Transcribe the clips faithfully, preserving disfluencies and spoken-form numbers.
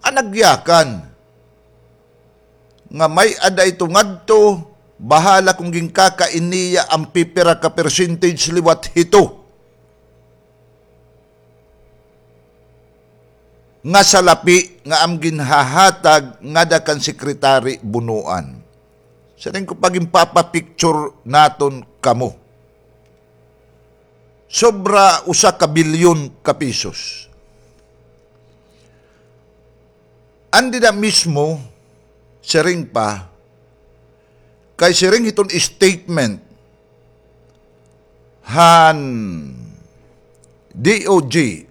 an nagyakan nga may-ada ito ngadto, bahala kon ginkakain niya an pipira ka percentage liwat hito nga salapi nga am ginhahatag ngada kan Secretary Bonoan. Siring ko, paginpapapicture naton kamo, sobra usa ka bilyon ka pesos. An dida mismo, siring pa, kay siring hiton statement han D O J,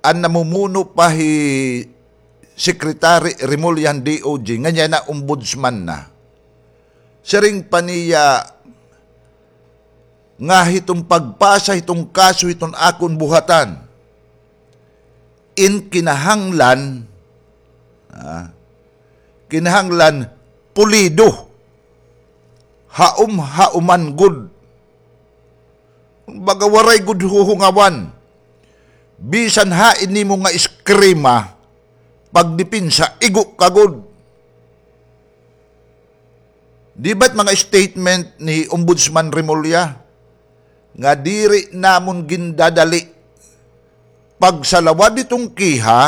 an namumuno pa hi Secretary Remulla han D O J, ngan yana ombudsman na. Siring pa niya nga hiton pagpasa hiton kaso hiton akon buhatan, in kinahanglan, ah, kinahanglan pulido. Haom-haoman gud. Baga waray gud huhungawan. Bisan hain nimo nga eskrima, pagdepensa, igo ka gud. Di ba it mga statement ni Ombudsman Remulla nga diri namon gindadali pagsalawad hiton kiha,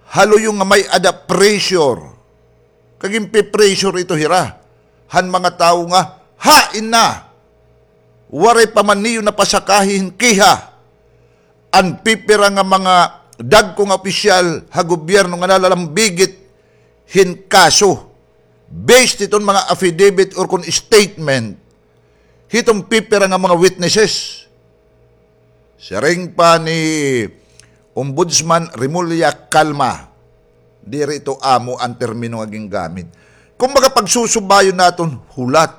ha luyo nga may-ada pressure. Kay ginpe-pressure ito hira han mga tawo nga, hain na, waray pa man niyo napasakahi hin kiha an pipira nga mga dagko nga opisyal ha gobyerno nga nalalambigit hin kaso, based hiton mga affidavit or kon statement hiton pipira nga mga witnesses. Siring pa ni Ombudsman Remulla, kalma. Diri ito amo an termino nga gingamit. Kumbaga, pagsusubayon naton hulat.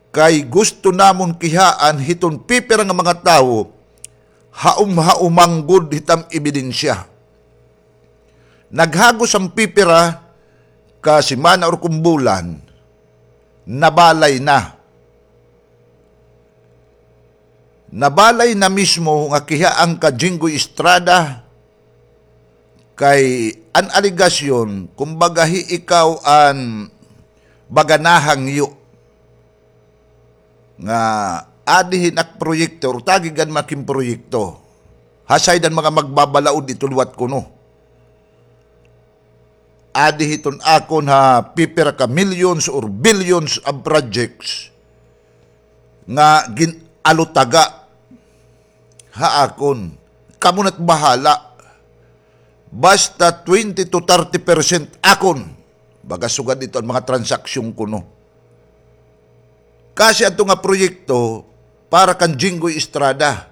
Kay gusto namon kihaan hiton pipira nga mga tawo, haom-haoman gud hiton ebidensya. Naghagos an pipira ka semana or kon bulan, nabalay na. Nabalay na mismo nga kiha an ka Jinggoy Estrada, kay an alegasyon, kumbaga, hi ikaw an baga nahangyo nga adi hin ak proyekto, or tagi gad man ak hin proyekto. Ha side han mga magbabalaod ito liwat kuno. Adi hiton akon ha pipira ka millions or billions of projects nga gin-alutaga ha akon. Kamo na't bahala. Basta twenty to thirty percent akon. Baga sugad ito an mga transaksyon kuno. Kasi adto nga proyekto para kan Jinggoy Estrada.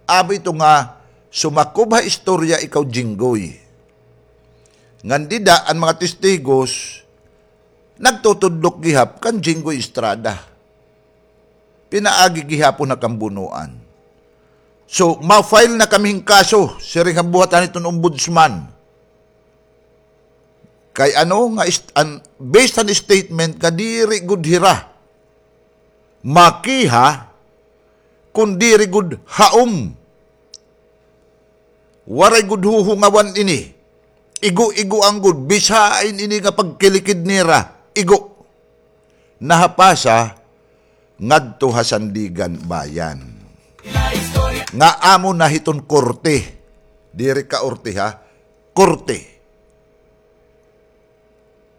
Amo ito nga sumakob ha istorya ikaw, Jinggoy. Ngan dida an mga testigos nagtutudlok gihap kan Jinggoy Estrada. Pinaagi gihapon ha kambunoan. So, ma-file na kami hin kaso, siring han buhatan hiton ombudsman. Kay ano nga ist-, an, based han statement nga diri gud hira makiha kon diri gud haom. Waray gud huhungawan ini. Igo-igoan gud, bisan ini nga pagkilikid nira, igo. Nahapasa ngadto ha Sandiganbayan. Nga amo na hiton korte. Diri kaorte, ha? Korte.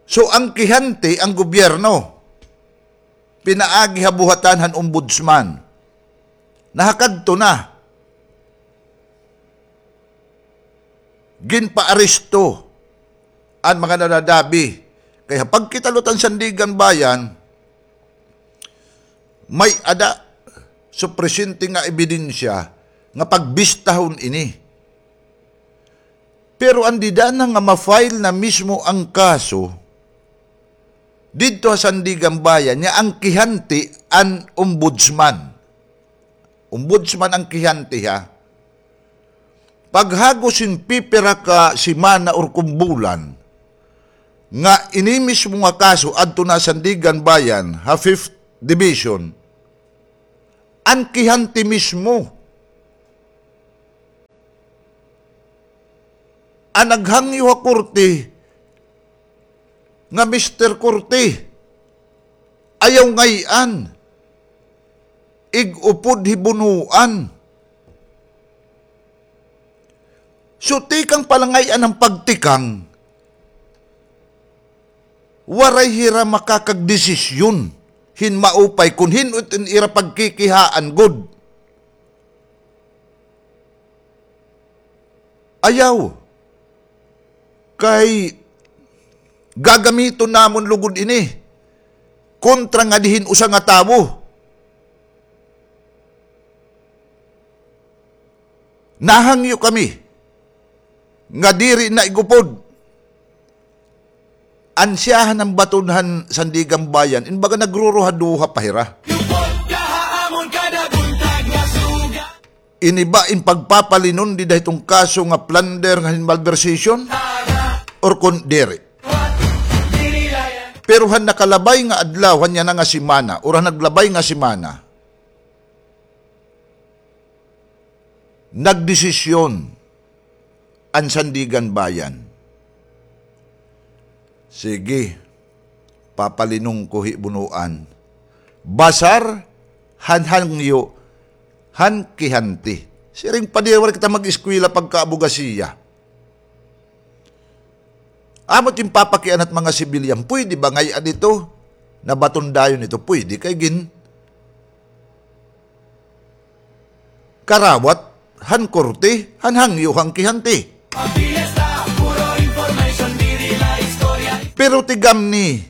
So, an kihante, an gobyerno, pinaagi ha buhatan han ombudsman. Nahakadto na. Ginpaaresto an mga nanadabi. Kay ha pagkita liwat han Sandiganbayan, may-ada supisyente nga ebidensya nga pagbistahon ini. Pero an dida na nga ma-file na mismo an kaso didto ha Sandiganbayan, nga an kihante an ombudsman. Ombudsman an kihante, ha. Paghagos hin pipira ka semana or kon bulan, nga ini mismo nga kaso adto na Sandiganbayan, ha Fifth Division, an kihante mismo An naghangyo ha korte nga Mister Korte, ayaw ngay-an ig-upod hi bunuan. So, tikang pa la ngay-an an pagtikang, waray hira makakagdesisyon hin maupay kon hin-o it ira pagkikihaan gud. Ayaw. Kay gagamiton namon lugod ini kontra ngadi hin usa nga tawo. Nahangyo kami nga diri na ig-upod. Ansyahan an baton han Sandiganbayan, in baga nagruruhaduha pa hira. Ini ba in pagpapalinon dida hiton kaso nga plunder ngan hin malversation? Or kon diri? Pero han nakalabay nga adlaw, han yana nga semana, or han naglabay nga semana, nagdesisyon an Sandiganbayan. Sige, papalinon ko hi bunuan. Basar han hangyo han kihante. Siring pa diri waray kita mag-eskwela pagka-abogasiya. Amo it in papakiana hit mga sibilyan, pwede ba ngay-an ito? Nabaton dayon ito, pwede kay gin- karawat han korte han hangyo han kihante. Pero tigamni,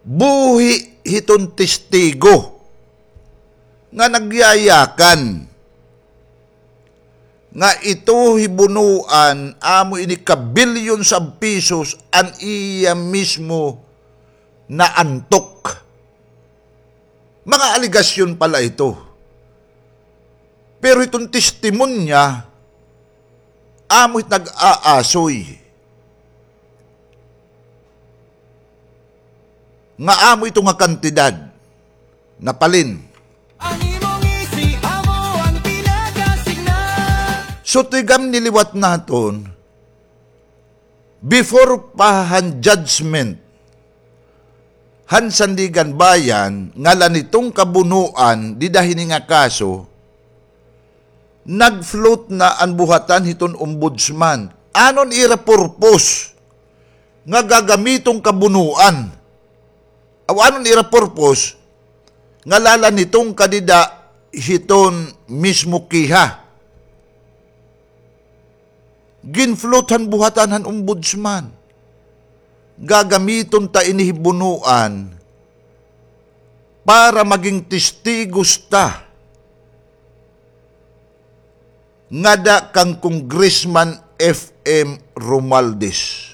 buhi hiton testigo nga nagyayakan nga ito hi bunuan, amo ini ka billions of pesos an iya mismo naantok. Mga alegasyon pa la ito. Pero iton testimonya, amo it nag-aasoy nga amo ito nga kantidad napalin. An imo ngisi amo an pinakasigna. So, tigamni liwat naton, before pa han judgment han Sandiganbayan, nga la niton ka bunuan dida hini nga kaso, nag-float na an buhatan hiton ombudsman. Ano an ira purpose nga gagamiton ka bunuan? Aw, ano an ira purpose nga la la niton ka dida hiton mismo kiha? Gin-float han buhatan han ombudsman. Gagamiton ta ini hi bunuan para maging testigos ta ngada kan Congressman F M Romualdez.